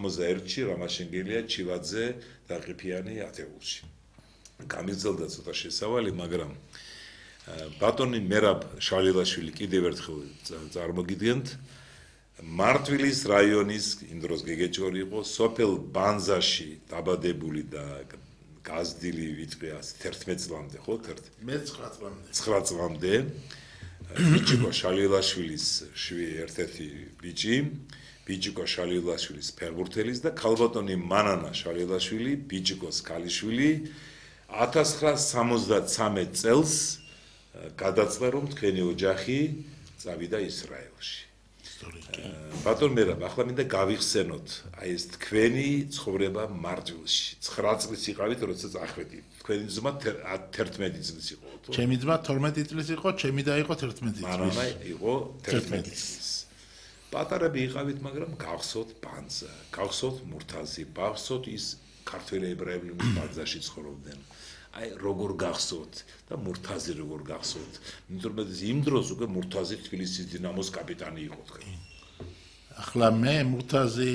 91-ში რამაშენგელია ჩივაძე და ყიფიანი ათეულში. გამიგრძელდა ცოტა შესავალი, მაგრამ ბატონი მერაბ შალილაშვილი კიდევ ერთხელ წარმოგიდგენთ მარტვილის რაიონის იმ დროს გეგეჭორი იყო სოფელ ბანზაში დაბადებული და გაზრდილი ვიტყვი 11 წლამდე ხო 9 წლამდე ბიჭიკო შალილაშვილის ერთ-ერთი ბიჭი ბიჭიკო შალილაშვილის ფეხბურთელის და ქალბატონი მანანა შალილაშვილი ბიჭიკოს ქალიშვილი 1973 წელს გადაწყდა რომ თქვენი ოჯახი წავიდა ისრაელში. ბატონ მერაბ, ახლა მინდა გავიხსენოთ აი ეს თქვენი ცხოვრება მარტვილში. 9 წლის იყავით, როდესაც ახვედით. თქვენი ძმა 11 წლის იყო, თუ? ჩემი ძმა 12 წლის იყო, ჩემი და იყო 11 წლის. მანანა იყო 11 წლის. პატარები იყავით, მაგრამ გავხსოთ ბანძა, გავხსოთ მურთაზი, გავხსოთ ის ქართველი ებრაელი ბანძაში ცხოვრობდნენ. აი როგორ გახსოვთ და მურთაზი როგორ გახსოვთ? იმიტომ რომ იმ დროს უკვე მურთაზი თბილისის დინამოს კაპიტანი იყო თქვენ. ახლა მე მურთაზი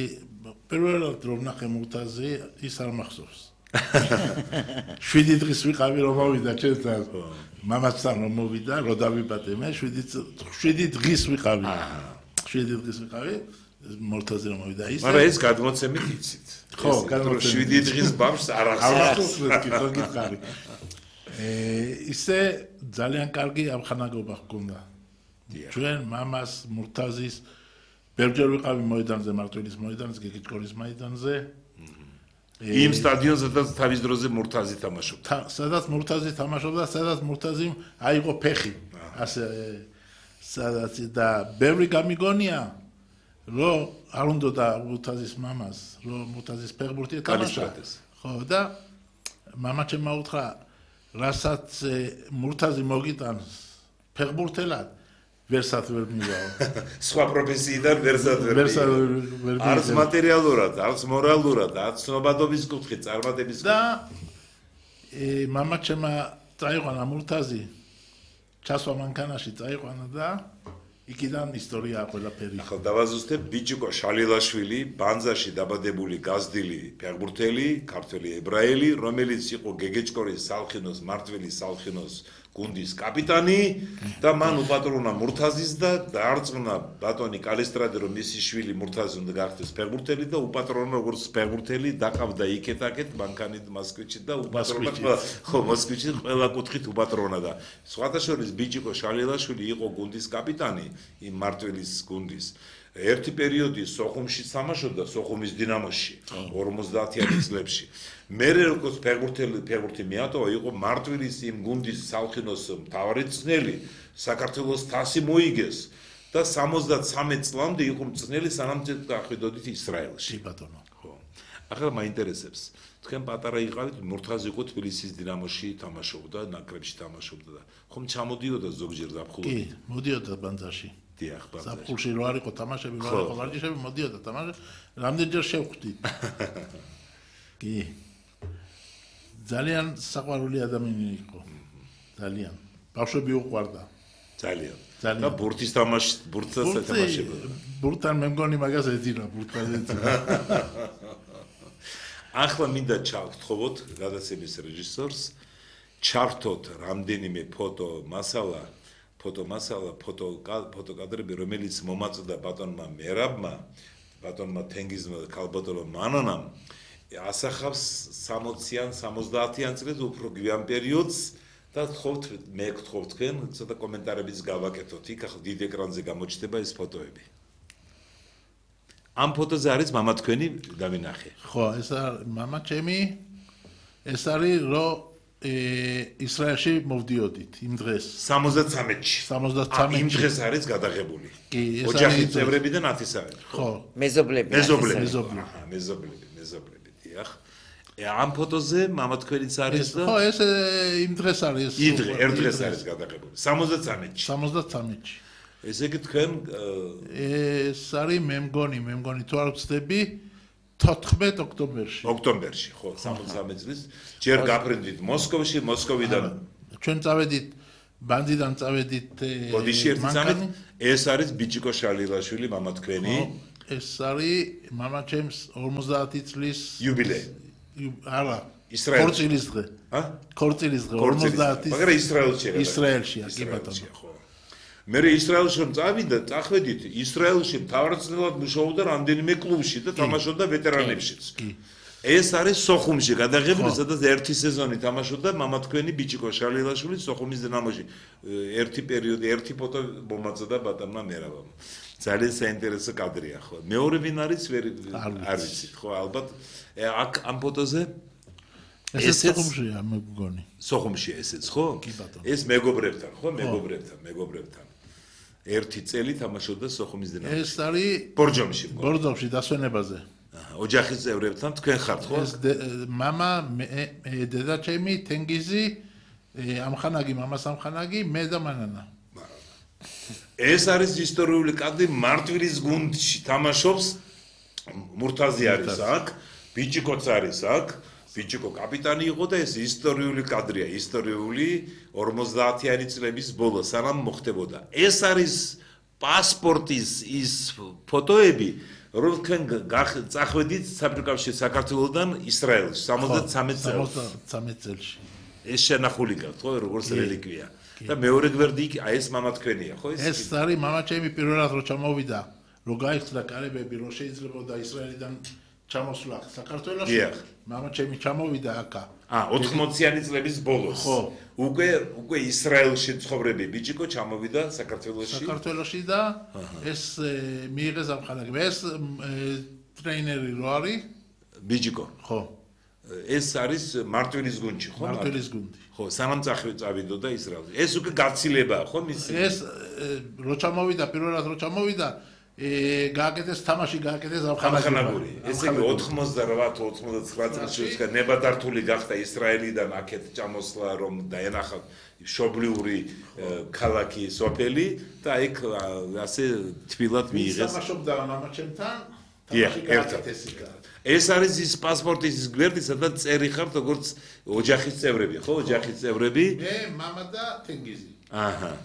პირველად რომ ნახე მურთაზი ის არ მახსოვს. 7 დღის ვიყავი რომ მოვიდა ჩემთან. მამასთან რომ მოვიდა, რო დავიბადე მე 7 დღის ვიყავი. 7 დღის ვიყავი. მურთაზი რომ მოვიდა ის. მაგრამ ეს გადმოცემით იცით. ხო, გადმოცემით. 7 დღის ბავშვს არ ახსოვს. ისე ძალიან კარგი ამხანაგობა ჰქონდა. ჩვენ მამას მურთაზის ბევრჯერ ვიყავი მოედანზე, მარტვილის მოედანზე, გეგეჭკორის მოედანზე. იმ სტადიონზე სადაც თავის დროზე მურთაზი თამაშობდა. სადაც მურთაზი თამაშობდა, სადაც მურთაზიმ აიღო ფეხი. ასე სადაც და ბევრი გამიგონია რომ არ უნდა მურთაზის მამას, რომ მურთაზის ფეხბურთი თამაშობს. ხო და მამა ჩემმა უთხრა, რასაც მურთაზი მოგიტანს ფეხბურთელად, ვერსად ვერ მივაო. სხვა პროფესიიდან ვერსად ვერ მივაო. არც მატერიალურად, არც მორალურად, არც ცნობადობის კუთხით, წარმატების კუთხით. და მამა ჩემმა წაიყვანა მურთაზი, ჩასვა მანქანაში წაიყვანა და იქიდან ისტორია ყველაფერი. ახლა დავაზუსტებ ბიჭიკო შალილაშვილი, ბანზაში დაბადებული გაზრდილი ფეხბურთელი, ქართველი ებრაელი, რომელიც იყო გეგეჭკორის სალხინოს, მარტვილის სალხინოს გუნდის კაპიტანი და მან უპატრონა მურთაზის და დაარწმუნა ბატონი კალისტრადი რომ მისი შვილი მურთაზი უნდა გახდეს ფეხბურთელი და უპატრონა როგორც ფეხბურთელი დაყავდა იქეთ-აქეთ მანქანით მოსკოვში და უპატრონა ხო მოსკოვში ყველა კუთხით უპატრონა და სხვათა შორის ბიჭიკო შალილაშვილი იყო გუნდის კაპიტანი იმ მარტვილის გუნდის ერთი პერიოდი სოხუმში თამაშობდა სოხუმის დინამოში 50-იანი წლებში მე როგორც ფეხბურთი მიატოვა იყო მარტვილის იმ გუნდის სალხინოს მთავარი წნელი საქართველოს თასი მოიგეს და 73 წლამდე იყო წნელი სანამ დახვიდოდით ისრაელში ბატონო ხო ახლა მაინტერესებს თქვენ პატარა იყავით მურთაზი იყო თბილისის დინამოში თამაშობდა ნაკრებში თამაშობდა და ხომ ჩამოდიოდა ზოგჯერ ზაფხულში კი მოდიოდა ბანძაში დიახ ბანძაში ზაფხულში რო არ იყო თამაშები რო არ იყო ვარჯიშები მოდიოდა თამაში რამდენჯერ შევხვდით კი ძალიან საყვარელი ადამიანი იყო ძალიან ბავშვები უყვარდა ძალიან და ბურთის თამაში ბურთსაც ეთამაშებდა ბურთთან მე მგონი მაგას ეძინა ბურთთან ეძინა ახლა მინდა ჩავთხოვოთ გადაცემის რეჟისორს ჩართოთ რამდენიმე ფოტოკადრები რომელიც მომაწოდა ბატონმა მერაბმა ბატონმა თენგიზმა და ქალბატონმა მანანამ ასახავს 60-იან 70-იან წლებს უფრო გვიან პერიოდს და მე გთხოვთ თქვენ ცოტა კომენტარებიც გავაკეთოთ იქ ახლა დიდ ეკრანზე გამოჩნდება ეს ფოტოები ამ ფოტოზე არის მამა თქვენი დავინახე ხო ეს მამა ჩემი ეს არის რომ ისრაელში მოვდიოდით იმ დღეს 73-ში 73-ში იმ დღეს არის გადაღებული კი ეს ოჯახის წევრებიდან 10 საათი ხო მეზობლები დიახ ამ ფოტოზე მამა თქვენიც არის და ხო ეს იმ დღეს არის ერთ დღეს არის გადაღებული 73-ში ესე იგი თქვენ ეს არის მე მგონი თუ არ ვცდები 14 ოქტომბერში ხო 73 წლის ჯერ გაფრინდით მოსკოვიდან ჩვენ წავედით ბანდიდან წავედით ბოდიში ერთი წამით ეს არის ბიჭიკო შალილაშვილი მამა თქვენი ეს არის მამაჩემს 50 წლის იუბილეი. არა, ისრაელში. ქორწილის დღე. ქორწილის დღე 50. მაგრამ ისრაელშია. ისრაელშია, კი ბატონო. ხო. მე ისრაელში რომ წავიდა, წახვედით, ისრაელში მთავარწნელად მუშაობდა რამდენიმე კლუბში და თამაშობდა ვეტერანებშიც. ეს არის სოხუმში გადაღებული, სადაც ერთი სეზონი თამაშობდა მამა თქვენი ბიჭიკო შალილაშვილი სოხუმის დინამოში. ერთი პერიოდი, ერთი ფოტო მომაწოდა ბატონმა მერავამ. ძალიან საინტერესო კადრია, ხო. მეორე ვინ არის, არ ვიცით, ხო, ალბათ აქ ამ ფოტოზე ესეც სოხუმშია, მე მგონი. სოხუმშია ესეც, ხო? ეს მეგობრებთან, ხო, მეგობრებთან. ერთი წელი თამაშობდა სოხუმის დინამოში. ეს არის ბორჯომში დასვენებაზე. ოჯახის წევრებთან თქვენ ხართ, ხო? ეს მამა, დედაჩემი, თენგიზი, ამხანაგი, მამას ამხანაგი, მე და მანანა. ეს არის ისტორიული კადრი მარტვილის გუნდში თამაშობს მურთაზი არის აქ, ბიჭიკოც არის აქ, ბიჭიკო კაპიტანი იყო და ეს ისტორიული კადრია, ისტორიული 50-იანი წლების ბოლო სანამ მოხდებოდა. ეს არის პასპორტის ის ფოტოები, რომ თქვენ წახვედით საბჭოთა საქართველოსთან ისრაელში 73 წელში. ეს შენახული გაქვთ, ხო, როგორც რელიკვია. და მეორე გვერდი ეს მამა თქვენია, ხო ეს? ეს არის მამაჩემი პირველად რო ჩამოვიდა, რო გაიხსნა კარებები, რო შეიძლებოდა ისრაელიდან ჩამოსვლა საქართველოში. მამაჩემი ჩამოვიდა აქა. 80-იანი წლების ბოლოს. ხო. უკვე ისრაელში ცხოვრები ბიჭიკო ჩამოვიდა საქართველოში. საქართველოში და ეს მიიღეს ამხანაგები. ეს ტრეინერი რო არის? ბიჭიკო. ხო. ეს არის მარტვილის გუნდში, ხო? მარტვილის გუნდი. ხო, სანამ წავიდოდა ისრაელში. ეს უკვე გაცილებაა, ხო, მისი? ეს რო ჩამოვიდა, პირველად რო ჩამოვიდა, გააკეთეს თამაში, გააკეთეს ამხანაგური. ესე იგი 88-89 წელს ნებადართული გახდა ისრაელიდან აქეთ ჩამოსვლა, რომ დაენახა მშობლიური ქალაქი სოფელი და იქ ასე თბილად მიიღეს. თამაშობდა მამაჩემთან, თამაში გააკეთეს იქ. ეს არის ის პასპორტის გვერდი, სადაც წერი ხართ როგორც ოჯახის წევრები, ხო, ოჯახის წევრები? მე, მამა და თენგიზი. აჰა.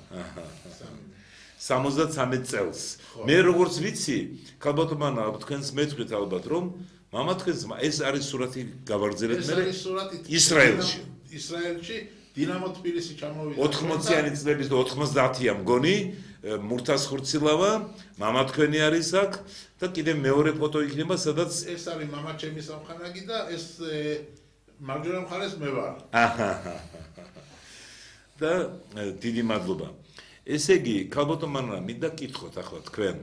73 წელს. მე როგორც ვიცი, ქალბატონმა თქვენს მეტყვით ალბათ, რომ მამა თქვენს ეს არის სურათი გავაგრძელეთ მე ისრაელში. ისრაელში დინამო თბილისი ჩამოვიდა. 80-იანი წლების და 90-ია მგონი, მურთას ხურცილავა, მამა თქვენი არის აქ და კიდე მეორე ფოტო იქნება, სადაც ეს არის მამაჩემის ამხანაგი და ეს მარჯვენა მხარეს მე ვარ. და დიდი მადლობა. ესე იგი, ქალბატონმა მინდა კითხოთ ახლა თქვენ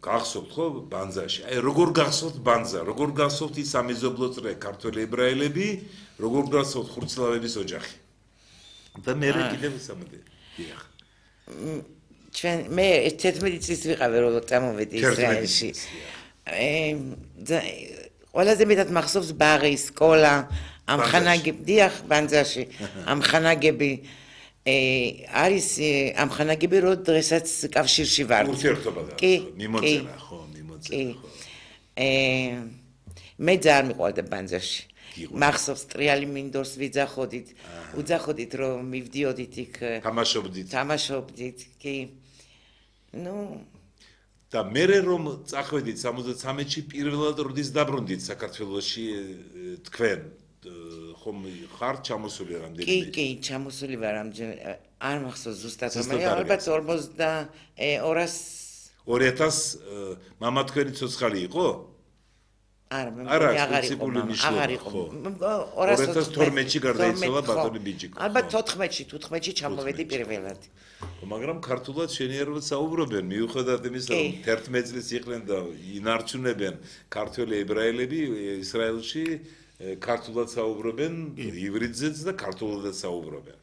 გახსოვთ ხო ბანძაში? აი როგორ გახსოვთ ბანძა? როგორ გახსოვთ ის სამეზობლო წრე ქართველი ებრაელები? როგორ გახსოვთ ხურცლავების ოჯახი? და მე კიდევ სამოდი. დიახ. მე 11 წლის ვიყავი რომ წამოვედი ისრაელში. ყველაზე მეტად მახსოვს ბაღი, სკოლა, ამხანაგები, დიახ, ბანძაში, ამხანაგები არის ამხანაგები რომ დღესაც კავშირში ვარ. ურთიერთობა და მიმოწერა, ხო, მიმოწერა, ხო. მე ძალიან მიყვარდა ბანძაში. მახსოვს ტრიალი მინდორს ვიძახოდით, უძახოდით რომ მივდიოდით იქ თამაშობდით, კი. და მე რომ წახვედით 73-ში პირველად როდის დაბრუნდით საქართველოში თქვენ ხომ ხარ ჩამოსული რამდენი? კი, ჩამოსული ვარ ამჯერ. არ მახსოვს ზუსტად, მაგრამ ალბათ 2000 მამა თქვენი ცოცხალი იყო? არა, აღარ იყო. 2012-ში გარდაიცვალა ბატონი ბიჭიკო. ალბათ 14-ში ჩამოვედი პირველად. მაგრამ ქართულად შენიერულად საუბრობენ, მიუხედავად იმისა, რომ 11 წლის იყვნენ და ინარჩუნებენ ქართველი ებრაელები ისრაელში, ქართულად საუბრობენ, ივრიდზეც და ქართულადაც საუბრობენ.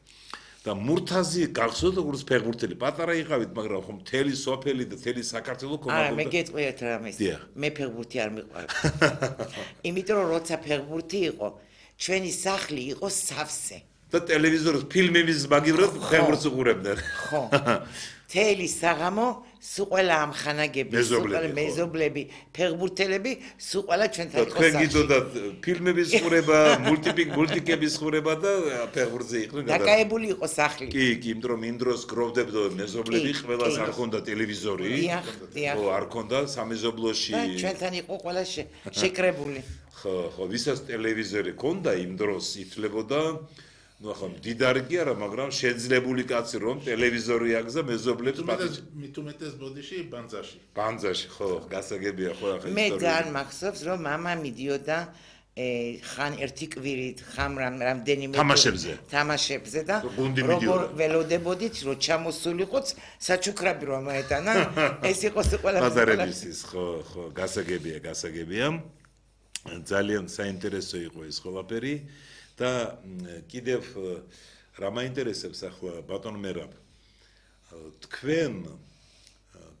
და მურთაზი გახსოვთ როგორც ფეხბურთელი, პატარა იყავით, მაგრამ ხომ მთელი სოფელი და მთელი საქართველო კომანდობდა. არა, მე გეტყვიათ რამეს. მე ფეხბურთი არ მიყვარს. იმიტომ რომ როცა ფეხბურთი იყო, ჩვენი სახლი იყო სავსე. და ტელევიზორს ფილმების მაგივრად ფეხბურთს უყურებდნენ. ხო. თელი საღამო სულ ამხანაგები, სულ მეზობლები, ფეხბურთელები, სულ ჩვენთან იყო. თქვენ გიწოდათ ფილმების ყურება, მულტიკების ყურება და ფეხბურთზე იყვნენ. დაკაებული იყო სახლი. კი, იმიტომ რომ იმ დროს გროვდებდა მეზობლები, ყველას არ ჰქონდა ტელევიზორი. დიახ. ხო, არ ჰქონდა სამეზობლოში. და ჩვენთან იყო ყველა შეკრებული. ხო, ვისაც ტელევიზორი ჰქონდა იმ დროს ითვლებოდა ну ახლა მდიდარი კი არა, მაგრამ შეძლებული კაცი რომ ტელევიზორი აქვს და მეზობლებს მით უმეტეს ბოდიში ბანძაში. ბანძაში, ხო, გასაგებია ხო ახლა მე ძალიან მახსოვს რომ მამა მიდიოდა ხან ერთი კვირით, ხან რამდენიმე თამაშებზე და როგორ ველოდებოდით რომ ჩამოსულიყოც საჩუქრები რომ მოეტანა, ეს იყო ყველა ბაზარებისის, ხო, გასაგებია. ძალიან საინტერესო იყო ეს ყველაფერი. და კიდევ რა მაინტერესებს ახლა ბატონ მერაბ თქვენ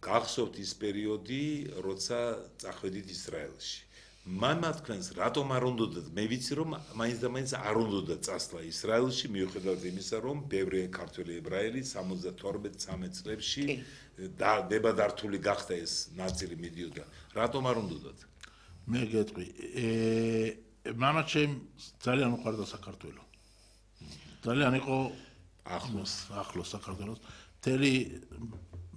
გახსოვთ ის პერიოდი როცა წახვედით ისრაელში მამა თქვენს რატომ არ უნდათ მე ვიცი რომ მაინც და მაინც არ უნდათ წასვლა ისრაელში მიუხედავად იმისა რომ ბევრი ქართველი ებრაელი 72-13 წლებში დებადართული გახდა ეს ნაწილი მიდიოდა რატომ არ უნდათ მე გეტყვი მამა ჩემ ძალიან უყვარდა საქართველო. ძალიან იყო ახლოს საქართველოს. მთელი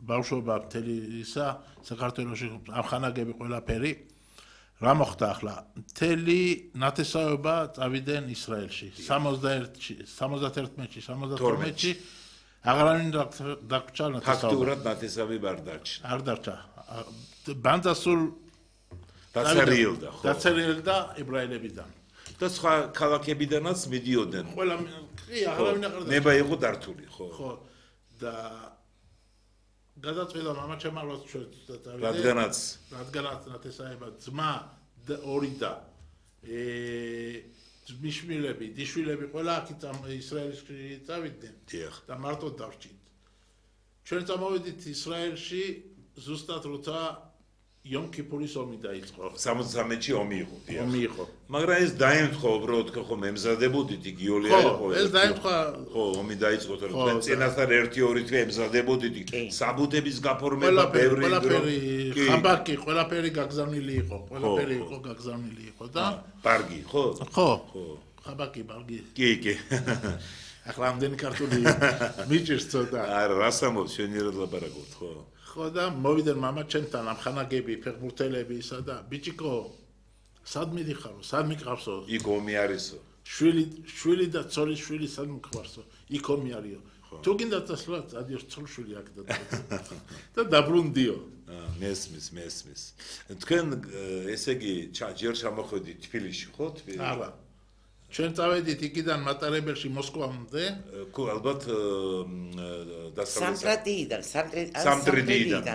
ბავშვობა, მთელი ისა საქართველოში ამხანაგები ყველაფერი. რა მოხდა ახლა? მთელი ნათესაობა წავიდნენ ისრაელში. 71-ში, 71-ში, 72-ში აღარავინ დაგჭა ნათესაობა. ფაქტურად ნათესავი არ დარჩა. არ დარჩა. ბანძასულ დაწერილდა ებრაელებიდან და სხვა ქალაქებიდანაც მიდიოდნენ. ყველა კი აღარავინ აღარ დარჩა. ნება იყო დართული, ხო. ხო. და გადაწყვიტა მამა ჩემმა რომ რადგანაც ნათესაება ძმა ორი და ძმისშვილები, დიშვილები ყველა აქ ისრაელში წავიდნენ. და მარტო დავრჩით. ჩვენ წამოვედით ისრაელში ზუსტად როცა იომ კიპურის ომი დაიწყო. 73-ში ომი იყო, დიახ. ომი იყო. მაგრამ ეს დაემთხვა უბრალოდ ხო მემზადებოდით იგი იოლია იყო. ეს დაემთხვა. ხო, ომი დაიწყო, თორემ წინასწარ 1-2 თვე ემზადებოდით საბუთების გაფორმება ბევრი ყველაფერი ხაბაკი, ყველაფერი გაგზავნილი იყო. ყველაფერი იყო გაგზავნილი იყო და ბარგი, ხო? ხო. ხაბაკი, ბარგი. კი. ახლა ამდენი ქართული მიჭირს ცოტა. არა, რასამობს შენიერად ლაპარაკობთ, ხო? ხო და მოვიდნენ მამა ჩემთან ამხანაგები, ფეხბურთელები ისა და ბიჭიკო სად მიდიხარო, სად მიყავსო? იქ ომი არისო. შვილი და ცოლის შვილი სად მიყავსო? იქ ომი არისო. თუ გინდა წასვლა, წადიო ცოლშვილი აქ და დაბრუნდიო. მესმის. თქვენ ესე იგი ჯერ ჩამოხვედით თბილისში, ხო? არა. ჩვენ წავედით იქიდან მატარებელში მოსკოვამდე. ალბათ სამტრედიდან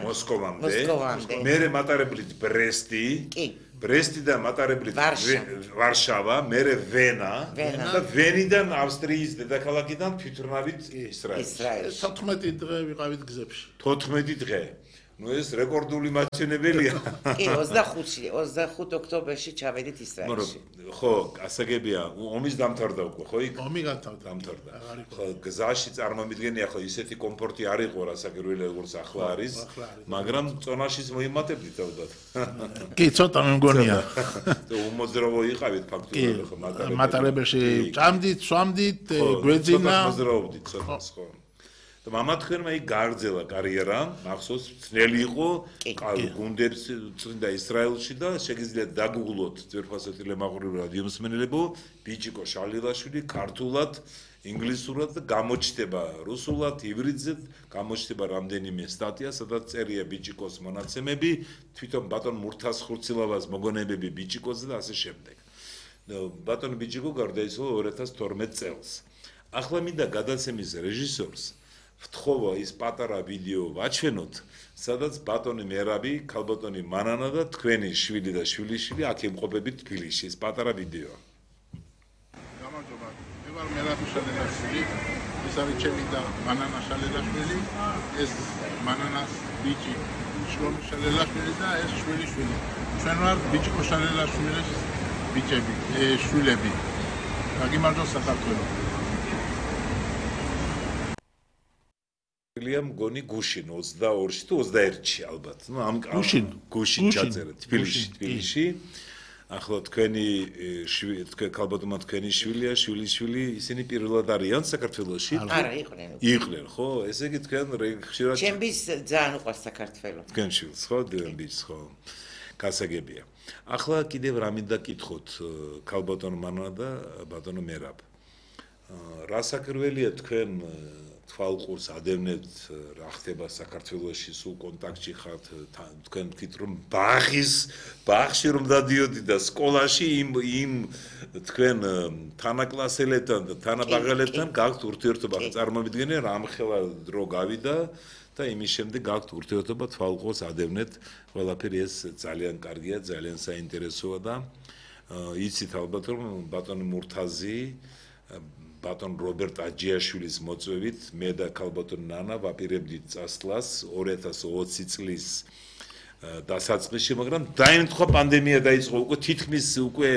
მოსკოვამდე. მერე მატარებლით ბრესტი. კი. ბრესტიდან მატარებლით ვარშავა, მერე ვენა და ვენიდან ავსტრიის დედაქალაქიდან თვითმფრინავით ისრაელში. 14 დღე ვიყავით გზებში. 14 დღე. ну ეს რეკორდული მაჩვენებელია. კი, 25 ოქტომბერში ჩავედით ისრაელში. ხო, გასაგებია, ომის დამთავრდა უკვე, ხო იქ? ომი დამთავრდა. ხო, გზაში წარმომიდგენია, ხო, ისეთი კომფორტი არ იყო, რასაკვირველია, როგორც ახლა არის, მაგრამ წონაშიც მოიმატებდით ალბათ. კი, ცოტა მე მგონია. და უმოძრავო იყავით ფაქტურად, ხო, მატარებელში ჭამდით, სვამდით, გვეძინა. მოძრაობდით ცოტას, ხო. და მამა თქვენმა იქ გააგრძელა კარიერა, მახსოვს, ძნელი იყო, გუნდებს წვრთნიდა ისრაელში და შეგიძლიათ დაგუგლოთ ძვირფასეთი ლემაყურის რადიო მსმენელებო, ბიჭიკო შალილაშვილი ქართულად, ინგლისურად და გამოჩნდება რუსულად, ივრიდზე, გამოჩნდება რამდენიმე სტატია, სადაც წერია ბიჭიკოს მონაცემები, თვითონ ბატონ მურთას ხურცილავას მოგონებები ბიჭიკოზე და ასე შემდეგ. ბატონ ბიჭიკო გარდაიცვალა 2012 წელს. ახლა მინდა გადაცემის რეჟისორს ვთხოვა ის პატარა ვიდეო ვაჩვენოთ, სადაც ბატონი მერაბი, ქალბატონი მანანა და თქვენი შვილი და შვილიშვილი აქ იმყოფებით თბილისში, ეს პატარა ვიდეო. გამარჯობა. მე ვარ მერაბი შალელაშვილი, ეს არის ჩემი და მანანა შალელაშვილი, ეს მანანას ბიჭი შლომი შალელაშვილი და ეს შვილიშვილი. ჩვენ ვარ ბიჭიკო შალელაშვილის ბიჭები, შვილები. გაგიმარჯოს საქართველო. ჩაწერია მგონი გუშინ 22-ში თუ 21-ში ალბათ. ნუ ამ გუშინ ჩაწერა თბილისში. ახლა თქვენი ქალბატონმა თქვენი შვილია, შვილიშვილი, ისინი პირველად არიან საქართველოში? არა, იყვნენ, ხო? ესე იგი თქვენ ხშირად ჩემს ძალიან უყვარს საქართველო. თქვენ შვილს, ხო? დევენბიჩს, ხო? გასაგებია. ახლა კიდევ რა მინდა კითხოთ ქალბატონ მანა და ბატონო მერაბ. რა საკრველია თქვენ თვალყურს ადევნებთ რა ხდება საქართველოში სულ კონტაქტში ხართ თქვენ თქვით რომ ბაღში რომ დადიოდი და სკოლაში იმ თქვენ თანაკლასელებთან და თანაბაღელებთან გაქვთ ურთიერთობა წარმოვიდგენე რამხელა დრო გავიდა და იმის შემდეგ გაქვთ ურთიერთობა თვალყურს ადევნეთ ყველაფერი ეს ძალიან კარგია ძალიან საინტერესოა და იცით ალბათ რომ ბატონი მურთაზი ბატონ რობერტ აჯიაშვილის მოწვევით მე და ქალბატონ ნანა ვაპირებდით წასვლას 2020 წლის დასაწყისში, მაგრამ დაემთხვა პანდემია დაიწყო უკვე თითქმის უკვე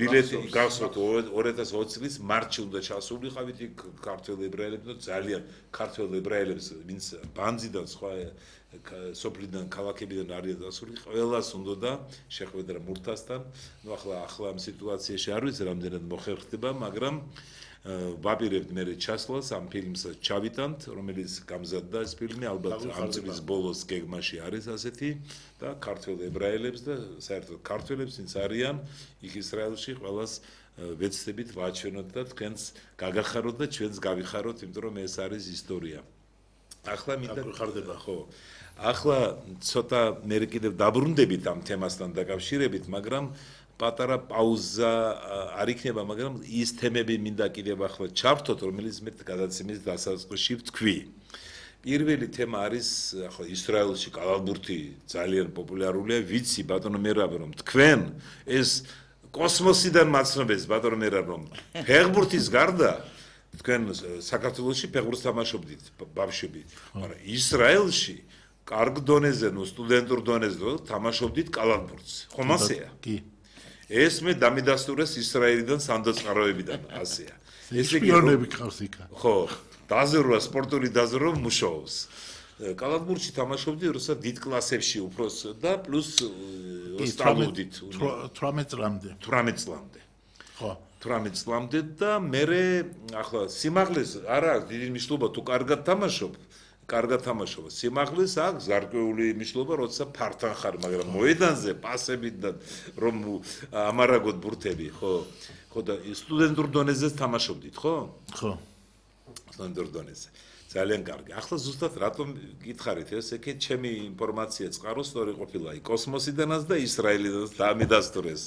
ბილეთი გახსოვთ 2020 წლის მარტში უნდა ჩასულიყავით იქ ქართველ ებრაელებს და ძალიან ქართველ ებრაელებს ვინც ბანძიდან სხვა სოფლიდან ქალაქებიდან არიან დასული ყველას უნდა შეხვედრა მურთასთან ნუ ახლა ამ სიტუაციაში არ ვიცი რამდენად მოხერხდება მაგრამ ვაპირებთ მე ჩასვლას ამ ფილმს ჩავიტანთ რომელიც გამზადდა ეს ფილმი ალბათ ამ წლის ბოლოს გეგმაში არის ასეთი და ქართველ ებრაელებს და საერთოდ ქართველებს ვინც არიან იქ ისრაელში ყველას ვეცდებით ვაჩვენოთ და თქვენს გაგახაროთ და ჩვენს გავიხაროთ იმიტომ რომ ეს არის ისტორია ახლა მინდა გხარდება ხო ახლა ცოტა მე კიდევ დაბრუნდებით ამ თემასთან დაკავშირებით მაგრამ პატარა პაუზა არ იქნება, მაგრამ ის თემები მინდა კიდევ ახლა ჩავთოთ, რომელიც მე გადაცემის დასაწყისში ვთქვი. პირველი თემა არის ახლა ისრაელში კალალბურთი ძალიან პოპულარულია, ვიცი ბატონო მერაბ რომ თქვენ ეს კოსმოსიდან მაცნობებს ბატონო მერაბ რომ ფეხბურთის გარდა თქვენ საქართველოში ფეხბურთს თამაშობდით ბავშვები, მაგრამ ისრაელში კარგ დონეზე, ნუ სტუდენტურ დონეზე თამაშობდით კალალბურთს. ხომ ასეა? კი. ეს მე დამიდასტურეს ისრაელიდან სანდოწყაროებიდან ასეა. ეს პიონერები ყავს იქა. ხო, დაზრვა სპორტული დაზრვა მუშაობს. კალათბურთში თამაშობდი, როცა დიდ კლასებში უფროს და პლუს სწავლობდით 18 წლამდე. 18 წლამდე. ხო. 18 წლამდე და მე ახლა სიმაღლეს არა დიდი მნიშვნელობა თუ კარგად თამაშობ. კარგად თამაშობ. სიმაღლეს აქვს გარკვეული მნიშვნელობა, როცა ფართან ხარ, მაგრამ მოედანზე პასებით და რომ ამარაგოთ ბურთები, ხო? ხო და სტუდენტურ დონეზე თამაშობდით, ხო? ხო. სტუდენტურ დონეზე. ძალიან კარგი. ახლა ზუსტად რატომ გითხარით ეს? ეკე ჩემი ინფორმაცია წყარო სწორი ყოფილა კოსმოსიდანაც და ისრაელიდანაც დამიდასტურეს.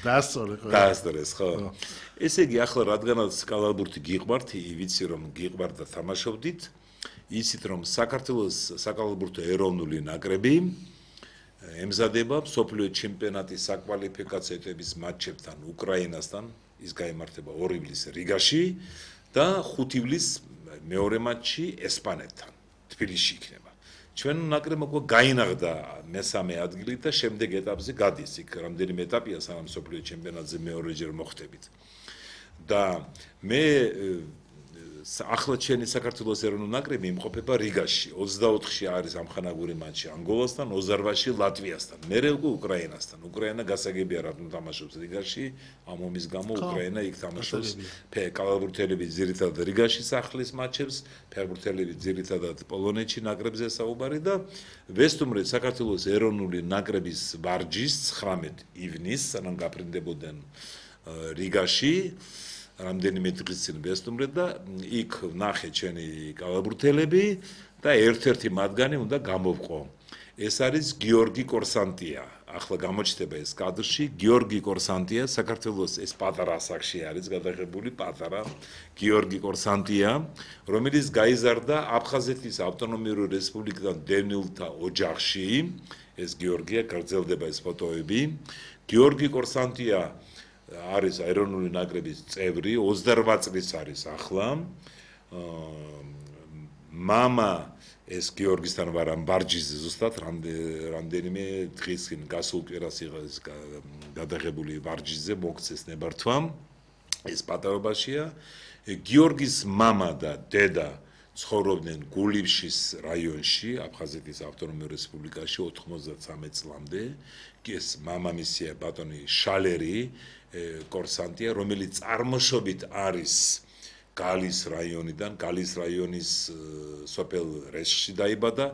დაასწორეს, ხო? ესე იგი ახლა რადგანაც კალათბურთი გიყვართ, ვიცი რომ გიყვართ და თამაშობდით. იცით რომ საქართველოს საკალათბურთო ეროვნული ნაკრები ემზადება მსოფლიო ჩემპიონატის საკვალიფიკაციო მატჩებთან უკრაინასთან ის გაიმართება 2 ივლისს რიგაში და 5 ივლისს მეორე მატჩი ესპანეთთან თბილისში იქნება ჩვენ ნაკრებმა გაინაღდა მესამე ადგილი და შემდეგ ეტაპზე გადის იქ რამდენიმე ეტაპია სანამ მსოფლიო ჩემპიონატზე მეორეჯერ მოხვდებით და მე ახლა ჩვენი საქართველოს ეროვნული ნაკრები იმყოფება რიგაში 24-ში არის ამხანაგური მატჩი ანგოლასთან 28-ში ლატვიასთან მერე უკვე უკრაინასთან უკრაინა გასაგებია რატომ თამაშობს რიგაში ამ ომის გამო უკრაინა იქ თამაშობს კალათბურთელები ძირითადად რიგაში სახლის მატჩებს ფეხბურთელები ძირითადად პოლონეთში ნაკრებზე საუბარი და ვესტუმრეთ საქართველოს ეროვნული ნაკრების ვარჯიშს 19 ივნისს სანამ გაფრინდებოდნენ რიგაში რამდენიმე დღის წინ ვესტუმრეთ და იქ ნახე ჩვენი კალათბურთელები და ერთ-ერთი მათგანი უნდა გამოვყო. ეს არის გიორგი კორსანტია. ახლა გამოჩნდება ეს კადრში გიორგი კორსანტია საქართველოს ეს პატარა ასაკში არის გადაღებული პატარა გიორგი კორსანტია რომელიც გაიზარდა აფხაზეთის ავტონომიური რესპუბლიკიდან დევნილთა ოჯახში ეს გიორგია გაგრძელდება ეს ფოტოები გიორგი კორსანტია არის ეროვნული ნაკრების წევრი 28 წლის არის ახლა მამა ეს გიორგისთან ვარ ამ ბარჯიზე ზუსტად რამდენიმე დღის წინ გასულ კვირას იღეს გადაღებული ბარჯიზე მოგცეს ნებართვა ეს პატარობაშია გიორგის მამა და დედა ცხოვრობდნენ გულიბშის რაიონში, აფხაზეთის ავტონომიურ რესპუბლიკაში 93 წლამდე. ეს მამამისია ბატონი შალერი, კურსანტია, რომელიც წარმოშობით არის გალის რაიონიდან, გალის რაიონის სოფელ რეშში დაიბადა.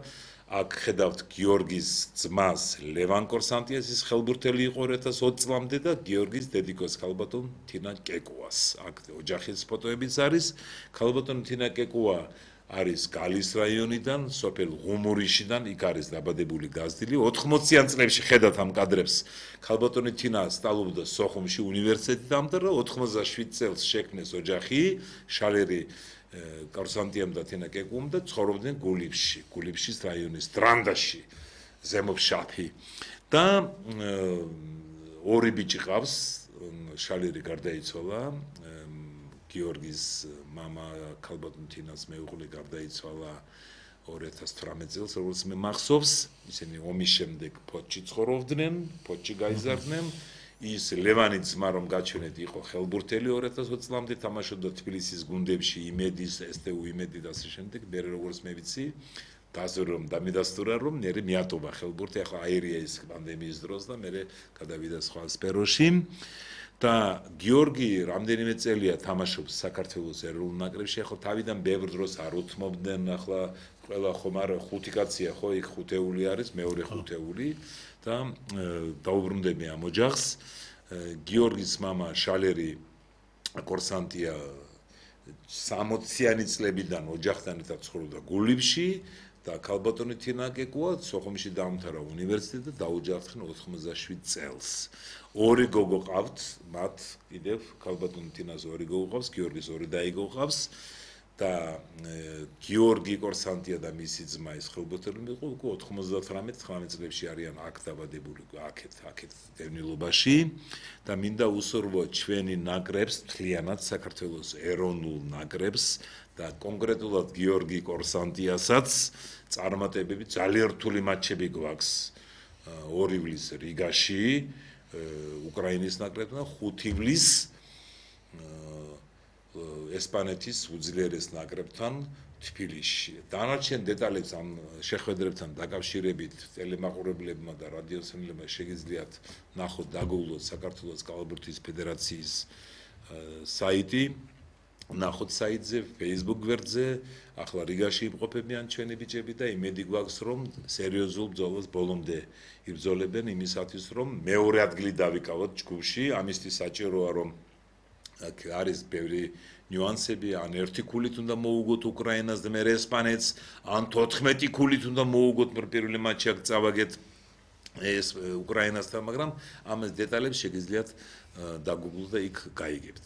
აქ ხედავთ გიორგის ძმას ლევან კურსანტიას, ის ხელბურთელი იყო 2020 წლამდე და გიორგის დედიკოს ქალბატონ თინა კეკუას. აქ ოჯახის ფოტოებიც არის. ქალბატონ თინა კეკუა არის გალის რაიონიდან, სოფელ ღუმურიშიდან, იქ არის დაბადებული გაზრდილი. 80-იან წლებში ხედავთ ამ კადრებს. ქალბატონი თინა სწავლობდა სოხუმში უნივერსიტეტში და 87 წელს შექმნეს ოჯახი, შალერი კურსანტიამ და თინა კეკუამ და ცხოვრობდნენ გულიბშის რაიონის დრანდაში, ზემოფშაფი. და ორი ბიჭი ყავს, შალერი გარდაიცვალა, გიორგის მამა ქალბატონ თინას მეუღლე გარდაიცვალა 2018 წელს, როგორც მე მახსოვს, ისინი ომის შემდეგ ფოთში ცხოვრობდნენ, ფოთში გაიზარდნენ. ის ლევანი ძმა რომ გაჩვენეთ იყო ხელბურთელი 2020 წლამდე თამაშობდა თბილისის გუნდებში, იმედის, STU იმედი და ასე შემდეგ. მე როგორც მე ვიცი, დაზრომ და მიდასტურა რომ მე მიატოვა ხელბურთი, ახლა აირია ის პანდემიის დროს და მე გადავიდა სხვა სფეროში. და გიორგი რამდენიმე წელია თამაშობს საქართველოს ეროვნულ ნაკრებში, ახლა თავიდან ბევრ დროს არ უთმობდნენ, ახლა ყველა ხომ არა ხუთი კაცია ხო, იქ ხუთეული არის, მეორე ხუთეული და დაუბრუნდები ამ ოჯახს. გიორგის მამა შალერი კურსანტია 60-იანი წლებიდან ოჯახთან ერთად ცხოვრობდა გულიბში და ქალბატონი თინა კეკუა სოხუმში დაამთავრა უნივერსიტეტი და დაუჯახდნენ 87 წელს. ორი გოგო ყავთ, მათ კიდევ ქალბატონი თინას ორი გოგო ყავს, გიორგის ორი დაიგო ყავს და გიორგი კურსანტია და მისი ძმა ის ხელბურთელი იყო 99-19 წლებში არიან აქ დაბადებული, აქეთ დევნილობაში და მინდა უსურვო ჩვენი ნაკრებს, მთლიანად საქართველოს ეროვნულ ნაკრებს და კონკრეტულად გიორგი კურსანტიასაც წარმატებები ძალიან რთული მატჩები გვაქვს 2 ივლის რიგაში უკრაინის ნაკრებთან, 5 ივლის ესპანეთის უძლიერეს ნაკრებთან თბილისში. დანარჩენ დეტალებს ამ შეხვედრებთან დაკავშირებით ტელემაყურებლებმა და რადიოსმენელებმა შეგიძლიათ ნახოთ, დაგუგლოთ საქართველოს კალათბურთის ფედერაციის საიტი, ნახოთ საიტზე, Facebook გვერდზე, ახლა რიგაში იმყოფებიან ჩვენი ბიჭები და იმედი გვაქვს, რომ სერიოზულ ბრძოლას ბოლომდე იბრძოლებენ იმისათვის, რომ მეორე ადგილი დავიკავოთ ჯგუფში, ამისთვის საჭიროა, რომ აქ არის ბევრი ნიუანსები, ან 1 ქულით უნდა მოუგოთ უკრაინას და მე ესპანეთს, ან 14 ქულით უნდა მოუგოთ პირველი მატჩი აქ წავაგეთ ეს უკრაინასთან, მაგრამ ამას დეტალებს შეგიძლიათ დაგუგლოთ და იქ გაიგებთ.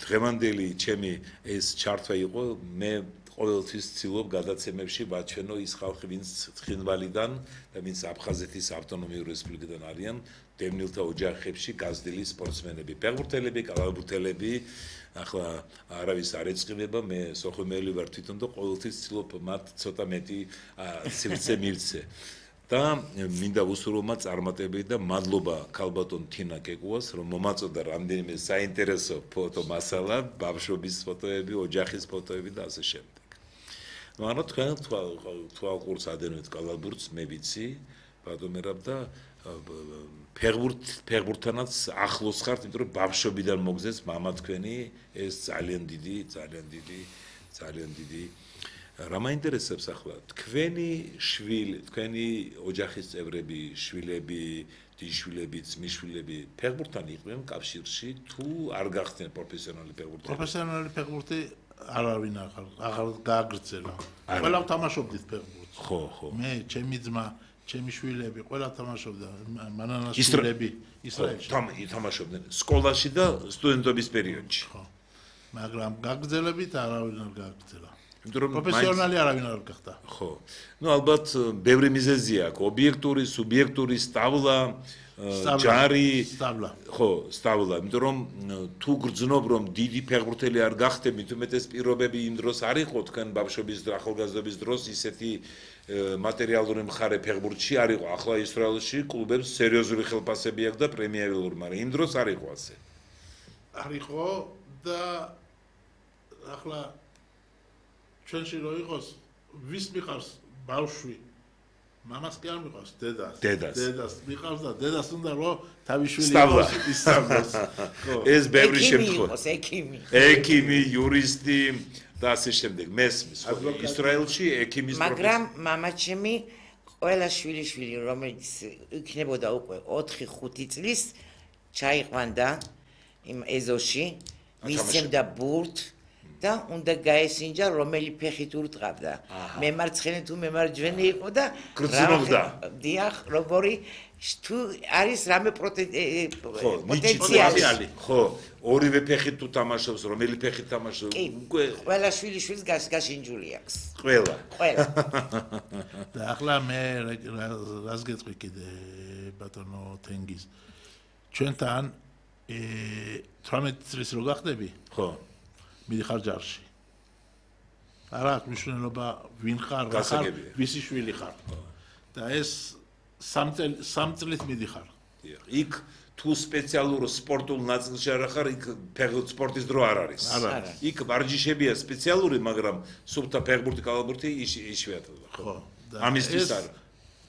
დღევანდელი ჩემი ეს ჩართვა იყო, მე ყოველთვის ვცდილობ გადაცემებში ვაჩვენო ის ხალხი, ვინც ცხინვალიდან და ვინც აფხაზეთის ავტონომიურ რესპუბლიკიდან არიან, დევნილთა ოჯახებში გაზრდილი სპორტსმენები, ფეხბურთელები, კალათბურთელები, ახლა არავის არ ეწყინება, მე სოხუმელი ვარ თვითონ და ყოველთვის ვცდილობ მათ ცოტა მეტი სივრცე მივცე. და მინდა უსურვო მათ წარმატებები და მადლობა ქალბატონ თინა კეკუას, რომ მომაწოდა რამდენიმე საინტერესო ფოტო მასალა, ბავშვობის ფოტოები, ოჯახის ფოტოები და ასე შემდეგ. ანუ თქვენ თვალყურს ადენოთ კალათბურთს, მე ვიცი, ბატონერაბ და ფეხბურთთანაც ახლოს ხართ, იმიტომ რომ ბავშვობიდან მოგზეს მამა თქვენი, ეს ძალიან დიდი რა მაინტერესებს ახლა თქვენი შვილი, თქვენი ოჯახის წევრები, შვილები, დიშვილები, ძმისშვილები ფეხბურთთან იყვნენ კავშირში თუ არ გახდნენ პროფესიონალი ფეხბურთელი? პროფესიონალი ფეხბურთი არავინ აღარ გააგრძელა. ყველა თამაშობდით ფეხბურთს. ხო. მე, ჩემი ძმა, ჩემი შვილები, ყველა თამაშობდა, მანანას შვილები ისრაელში. თამაშობდნენ სკოლაში და სტუდენტობის პერიოდში. ხო. მაგრამ გაგრძელებით არავინ არ გააგრძელა. პროფესიონალი არავინ არ გახდა. ხო. ნუ ალბათ ბევრი მიზეზია აქვს, ობიექტური, სუბიექტური, სტავლა, ჯარი, ხო, სტავლა, იმიტომ რომ თუ გრძნობ რომ დიდი ფეხბურთელი არ გახდები, თუმეტეს პირობები იმ დროს არ იყო თქვენ ბავშვობის და ახალგაზრდობის დროს ისეთი მატერიალური მხარე ფეხბურთში არ იყო. ახლა ისრაელში კლუბებს სერიოზული ხელფასები აქვს და პრემიერული, მაგრამ იმ დროს არ იყო ასე. არ იყო და ახლა ჩვენში რო იყოს ვის მიყავს ბავშვი მამას კი არ მიყავს დედას მიყავს და დედას უნდა რომ თავი შვილი ისწავლოს ეს ბევრი შემთხვევა ექიმი იურისტი და ასე შემდეგ მესმის ისრაელში ექიმის მაგრამ მამაჩემი ყველა შვილი რომელიც იქნებოდა უკვე 4-5 წლის ჩაიყვანდა იმ ეზოში მისცემდა ბურთ და უნდა გაესინჯა რომელი ფეხით ურტყავდა მემარცხენე თუ მემარჯვენე იყო და გრძნობდა დიახ როგორი თუ არის რამე პოტენციალი ხო ორივე ფეხით თუ თამაშობს რომელი ფეხით თამაშობს უკვე ყველა შვილის გაშინჯული აქვს ყველა და ახლა მე რას გეტყვი კიდე ბატონო თენგიზ ჩვენთან 18 წლის რო გახდები ხო მიდიხარ ჯარში არა აქვს მნიშვნელობა ვინ ხარ რა ხარ ვისი შვილი ხარ და ეს 3 წლით მიდიხარ იქ თუ სპეციალურ სპორტულ ნაწილში არ ხარ იქ სპორტის დრო არ არის იქ ვარჯიშებია სპეციალური მაგრამ სუფთა ფეხბურთი კალათბურთი იშვიათად ხო ამისთვის არა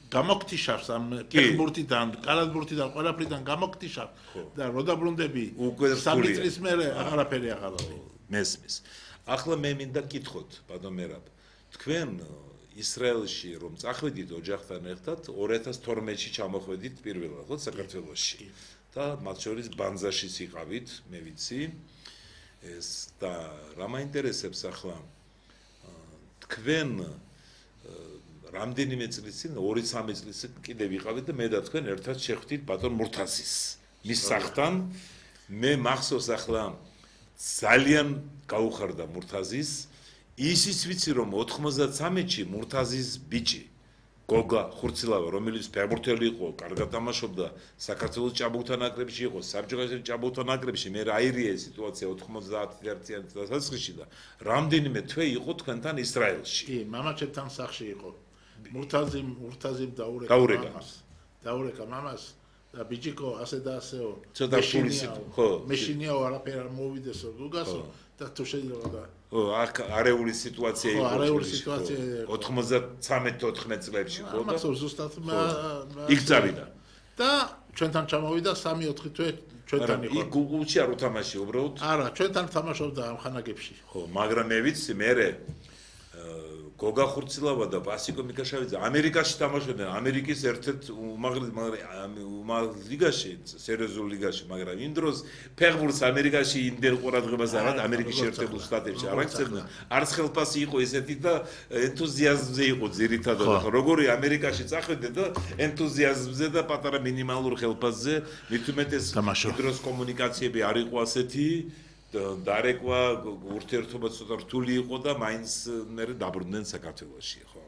გამოგტიშავს ამ ფეხბურთიდან კალათბურთიდან ყველაფრიდან გამოგტიშავს და რო დაბრუნდები 3 წლის მერე აღარაფერი აღარავი მესმის ახლა მე მინდა გკითხოთ ბატონ მერაბ თქვენ ისრაელში რომ წახვედით ოჯახთან ერთად 2012-ში ჩამოხვედით პირველად ხო საქართველოში და მათ შორის ბანზაშიც იყავით მე ვიცი ეს და რა მაინტერესებს ახლა თქვენ რამდენიმე წლის წინ 2-3 წლის წინ კიდევ ვიყავით და მე და თქვენ ერთად შეხვდით ბატონ მურთაზის მის სახლთან მე მახსოვს ახლა ძალიან გაუხარდა მურთაზის ისიც ვიცი რომ 93-ში მურთაზის ბიჭი გოგა ხურცილავა რომელიც ფეხბურთელი იყო კარგად თამაშობდა საქართველოს ჭაბუკთა ნაკრებში იყო საბჭოთა ჭაბუკთა ნაკრებში მე რაირია სიტუაცია 91-იან დასაწყისში და რამდენიმე თვე იყო თქვენთან ისრაელში კი მამაჩემთან სახლში იყო მურთაზიმ დაურეკა მამას და ბიჭიკო ასე და ასეო ცოტა ფულისი ხო მეშინიაო არაფერ არ მოვიდესო გუგასო და თუ შეიძლება და ო არეული სიტუაცია იყო არეული სიტუაცია 93-14 წლებში ხო და ამას ზუსტად იქ წავიდა და ჩვენთან ჩამოვიდა 3-4 თვე ჩვენთან იყო იქ გუგულში არ უთამაში უბრალოდ არა ჩვენთან თამაშობდა ამ ხანაგებში ხო მაგრამ მე ვიცი მე გოგა ხურცილავა და ბასიკო მიკაშავიძე ამერიკაში თამაშობდნენ ამერიკის ერთ-ერთ უმაღლეს ლიგაში სერიოზულ ლიგაში მაგრამ იმ დროს ფეხბურთს ამერიკაში იმდენ ყურადღებას არ აქვს ამერიკის შეერთებულ შტატებში არ აქცევდნენ არც ხელფასი იყო ესეთი და ენთუზიაზმზე იყო ძირითადად როგორი ამერიკაში წახვიდე და ენთუზიაზმზე და პატარა მინიმალურ ხელფასზე მით უმეტეს იმ დროს კომუნიკაციები არ იყო ასეთი დარეკვა ურთიერთობა ცოტა რთული იყო და მაინც მე დაბრუნდნენ საქართველოში ხო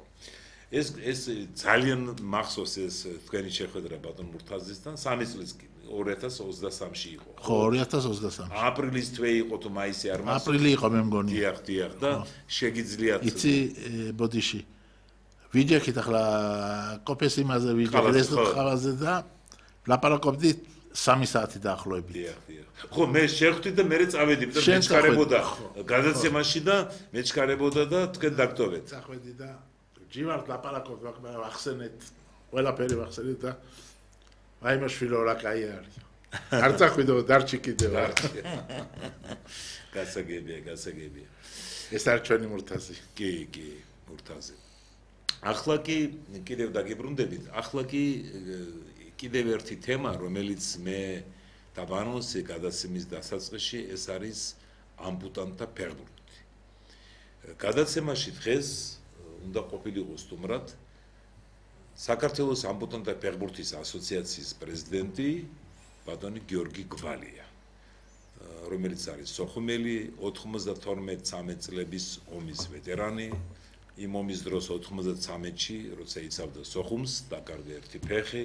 ეს ძალიან მახსოვს ეს თქვენი შეხვედრა ბატონ მურთაზისთან 3 წლის კი 2023-ში იყო ხო 2023 აპრილის თვე იყო თუ მაისი არ მახსოვს აპრილი იყო მე მგონი დიახ და შეგიძლიათ იცი ბოდიში ვიჯექით ახლა კოფეს იმაზე ვიჯექით ხავაზე და ლაპარაკობდით 3 საათი დაახლოებით. დიახ. ხო, მე შევხვდი და მე წავედი და მეჩქარებოდა გადაცემაში და მეჩქარებოდა და თქვენ დაგტოვეთ. წახვედი და ჯივართ ლაპარაკობ ახსენეთ, ყველაფერი ახსენეთ და აი მაშვილო რა კაი არის. არ წახვიდო დარჩი კიდევ. გასაგებია. ეს არ ჩვენი მურთაზი. კი, მურთაზი. ახლა კი კიდევ დაგიბრუნდებით. ახლა კი კიდევ ერთი თემა, რომელიც მე დაბანონსე გადაცემის დასაწყისში, ეს არის ამპუტანტთა ფეხბურთი. გადაცემაში დღეს უნდა ყოფილიყო სტუმრად საქართველოს ამპუტანტთა ფეხბურთის ასოციაციის პრეზიდენტი ბატონი გიორგი გვალია, რომელიც არის სოხუმელი, 92-13 წლების ომის ვეტერანი. იმ ომის დროს 93-ში, როცა იცავდა სოხუმს, დაკარგა ერთი ფეხი,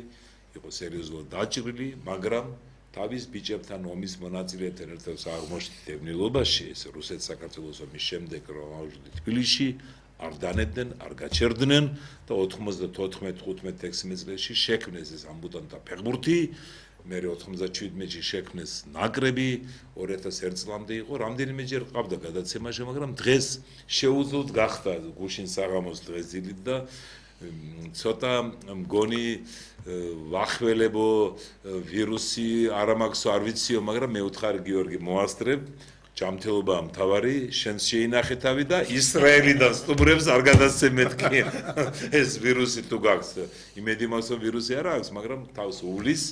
იყო სერიოზულად დაჭრილი, მაგრამ თავის ბიჭებთან ომის მონაწილეებთან ერთად აღმოჩნდა დევნილობაში, ეს რუსეთ-საქართველოს ომის შემდეგ რომ ავжди თბილისში, არ დანებდნენ, არ გაჩერდნენ და 94-15-16 წლებში შექმნეს ეს ამპუტანტთა ფეხბურთი მე 97-ში შექმნეს ნაკრები 2001 წლამდე იყო რამდენიმეჯერ ყავდა გადაცემაში მაგრამ დღეს შეუძლოდ გახდა გუშინ საღამოს დღეს დილით და ცოტა მგონი ვახველებო ვირუსი არ მაქვს არ ვიციო მაგრამ მე უთხარი გიორგი მოასწრებ ჯანმრთელობა მთავარი შენს შეინახე თავი და ისრაელიდან სტუმრებს არ გადასცემეთკი ეს ვირუსი თუ გაქვს იმედი მაქვს რომ ვირუსი არ აქვს მაგრამ თავს უვლის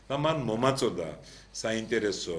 და მან მომაწოდა საინტერესო